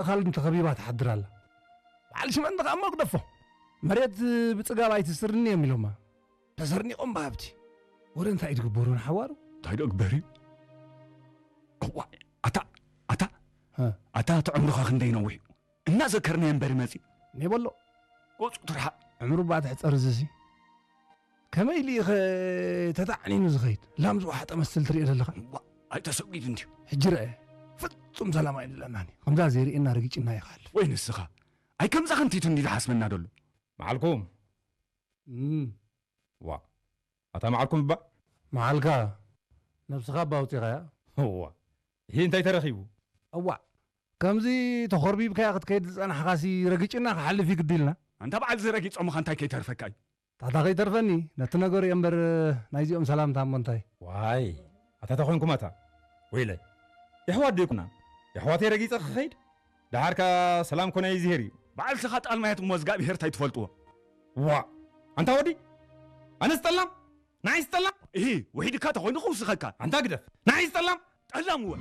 እኻል እንተኸቢባ ትሓድር ኣላ። በዓል ሽመንተ ከኣ እሞ ግደፎ። መሬት ብጽጋብ ኣይትስርኒ እዮም ኢሎማ። ተሰርኒቖም ብሃብቲ። ወረ እንታይ እዩ ትግበሩ ንሓዋሩ? እንታይ ዶ ግበር እዩ? እዋይ፣ ኣታ፣ ኣታ፣ ሀ። ኣታ እቲ ዕምርኻ ክንደይ ነዊሕ እዩ? እናዘከርናዮ እምበር ይመጽእ። ኔበሎ። ገጹ ትርሓቕ። ዕምሩ እባ ትሕጸር እዚሲ። ከመይ ኢሉ እዩ ኸ ተታዕኒኑ ዝኸይድ? ላም ዝወሓጠ መስል ትሪኦ ዘለኻ? እዋ፣ ኣይተሰጒድ እንድዩ። ሕጂ ረአ። ፍጹም ሰላም ኣይደለናን እዩ። ከምዛ ዘይርእየና ረጊጭና እዩ ክሓልፍ። ወይ ንስኻ። ኣይ ከምዛ ክንቲቱ እንድዩ ዝሓስበና ደሎ። መዓልኩም። እም። ዋ። ኣታ መዓልኩም እባ። መዓልካ። ነብስኻ እባ ኣውጺኻያ። እዋ። ይሄ እንታይ ተረኺቡ? እዋ። ከምዚ ተኾርቢብካያ ክትከይድ ዝጸናሕኻሲ ረጊጭና ክሓልፍ እዩ ግዲ ኢልና። ኣንታ በዓል እዚ ረጊጾምኻ እንታይ ከይተርፈካ እዩ? ታታ ከይተርፈኒ፣ ነቲ ነገሩ እየ እምበር ናይዚኦም ሰላምታ እሞ እንታይ? ዋይ፣ ኣታ ተኾንኩም ኣታ። ወይለይ። የሕዋት ዶ ይኩና? የሕዋተይ ረጊጸ ክኸይድ? ደሓርካ ሰላም ኮነ ይዝሄር እዩ። በዓል ስኻ ጣልማያት እሞ እዝጋብሄር እንታይ ትፈልጥዎ? ዋ፣ ኣንታ ወዲ፣ ኣነስ ጠላም? ንዓይስ ጠላም? እሂ፣ ውሒድካ ተኾይኑ ክውስኸካ። ኣንታ ግደፍ። ንዓይስ ጠላም? ጠላም እወ።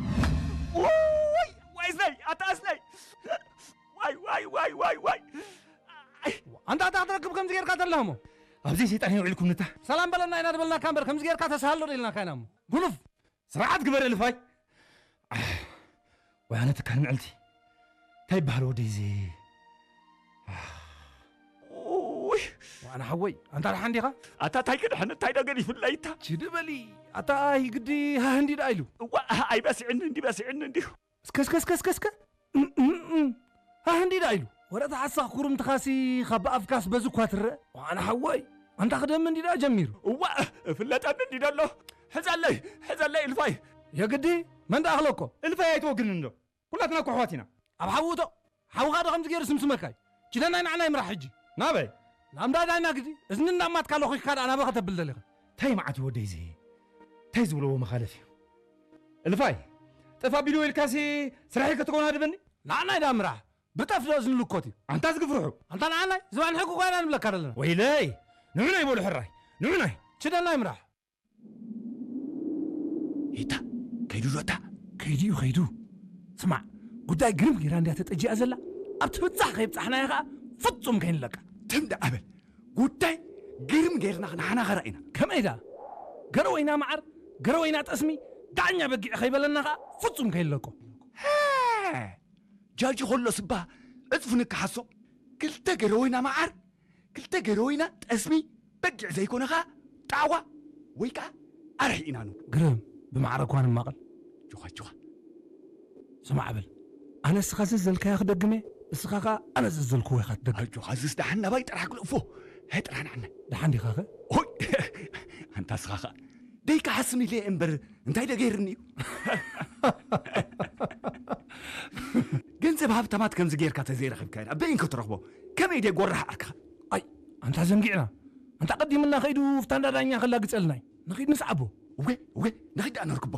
ውይ፣ ዋይ እዝነይ፣ ኣታ እዝነይ። ዋይ፣ ዋይ፣ ዋይ፣ ዋይ፣ ዋይ። ኣይ። ኣንታ፣ ኣታ ክትረክብ ከምዚ ጌርካ ተላህሞ። ኣብዚ ሰይጣን የውዒልኩም ንታ። ሰላም በለና ኢና ዝበልናካ እምበር፣ ከምዚ ጌርካ ተሳሃሎ ዶ ኢልናካ ኢና እሞ። ጉኑፍ። ስርዓት ግበር እልፋይ። ኣህ፣ ወይ ኣነ ትካል ምዕልቲ። እንታይ ይበሃል ወደይ እዚ? ኣህ። ውይ። ዋና ሓወይ፣ ኣንታ ደሓን ዲኻ? ኣታ እንታይ ክድሕን፣ እንታይ ዶ ገዲፉለይ እታ? ችዲ በሊ። ኣታ ኣይ ግዲ ሃህ እንዲ ደኣ ኢሉ። እዋ፣ ኣይበስዕኒ እንዲ በስዕኒ እንዲዩ። እስከ፣ እስከ፣ እስከ፣ እስከ፣ እስከ። እም፣ እም፣ እም። ሃህ እንዲ ደኣ ኢሉ። ወረ ተሓሳኽ ኩርምትኻሲ ካብ ኣፍካስ በዚ እኳ ትረአ። ዋና ሓወይ፣ ኣንታ ክደሚ እንዲ ደኣ ጀሚሩ። እዋ፣ እፍለጠኒ እንዲ ደሎ። ሕዘለይ፣ ሕዘለይ እልፋይ። የግዲ፣ መን ደኣ ክለኮ? እልፋይ ኣይትወግንን ዶ? ኩላትና እኮ ኣሕዋት ኢና። ኣብ ሓዊ እቶ፣ ሓውኻ ዶ ከምዚ ገይሩ ስምስመካ እዩ? ችደናይ ንዓና ይምራሕ ሕጂ። ናበይ? ናብ እንዳ ዳይና ግዲ፣ እዝኒ እንዳማትካ ለኺኽካ ደኣ ናበይ ከተብል ደሊኻ? እንታይ መዓት እዩ ወደይ እዚ? እንታይ ዝብለዎ መኻለፍ እዩ? እልፋይ፣ ጠፍ ኣቢልዎ ኢልካሲ ስራሐይ ከተኮናድበኒ? ንዓናይ ደኣ ምራሕ። ብጠፍ ዶ እዝኒ ልኮት እዩ? ኣንታ ዝግፍርሑ። ኣንታ ንዓናይ፣ ዝባን ሕጊ ጓይና ንብለካ ዘለና። ወይለይ፣ ንዑናይ በሉ ሕራይ፣ ንዑናይ። ችደናይ ምራሕ። ኢታ፣ ከይዱ ዶ እታ? ከይዱ እዩ፣ ከይዱ። ስማዕ፣ ጉዳይ ግርም ጌራ እንድያ ተጠጂኣ ዘላ። ኣብቲ ብጻሕ ከይብጻሕናያ ኸኣ ፍጹም ከይንለቃ። ትም ደኣ በል። ጉዳይ ግርም ጌርና ክንሓናኸራ ኢና። ከመይ ደኣ? ገረወይና መዓር፣ ገረወይና ጠስሚ፣ ዳኛ በጊዕ ከይበለና ኸኣ ፍጹም ከይንለቆ። ሃ! ጃጂ ከሎስ እባ ዕጽፉ ንከሓሶ። ክልተ ገረወይና መዓር፣ ክልተ ገረወይና ጠስሚ፣ በጊዕ ዘይኮነ ኸኣ ጣዕዋ ወይ ከኣ ኣርሒ ኢና ንብሎ። ግርም፣ ብማዕረ እኳ ንማቐል። ጆኻ፣ ጆኻ። ስማዕ በል፣ ኣነ እስኻ ዘዘልካዮ ክደግም እየ፣ እስኻ ኸኣ ኣነ ዘዘልክዎ ኢኻ ትደግም። ኣጆኻ፣ እዝስ ደሓን ናባይ ጥራሕ ክልእፎ። ሃይ ጥራሕ ንዓና። ደሓን ዲኻኸ? ሆይ! ኣንታ እስኻ ኸኣ። ደይከሓስም ኢለ እየ እምበር፣ እንታይ ዶ ገይርኒ እዩ? ገንዘብ ሃብታማት ከምዚ ጌርካ ተዘይረኺብካ ኢና በይን ክትረኽቦ። ከመይ ድየ ጎራሕ ዓርክኻ? ኣይ፣ ኣንታ ዘንጊዕና። ኣንታ ቀዲምና ከይዱ ፍታንዳ ዳኛ ከላግጸልና እዩ። ንኺድ ንስዓቦ። እወ፣ እወ፣ ንኺድ ደኣ ነርክቦ።